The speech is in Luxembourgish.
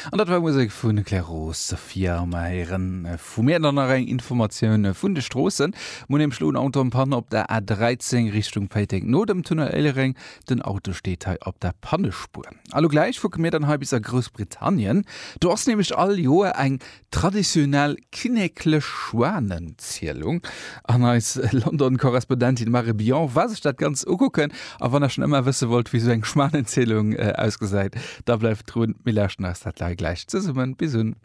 An dat war Musek vun Claire Sophia. Mer héieren vu mir dann nach eng Informatioun vun de Stroossen. Mir hunn nämlech elo en Auto en Panne op der A13 Richtung Péiteng no dem Tunnel Éilereng. Den Auto steet hei op der Pannespuer. A lo gläich kucke mir dann hei bis a Groussbritannien. Do ass nämlech all Joer eng traditionell kinneklech Schwanenzielung. An eis London-Korrespondentin Marie Billon war sech dat Ganzt ukucken. A wann der schonn ëmmer wësse wollt, wéi sou eng Schwanenzielung ausgesäit, da bleift drun. Mir lauschten eis dat gläich zesummen. Bis un.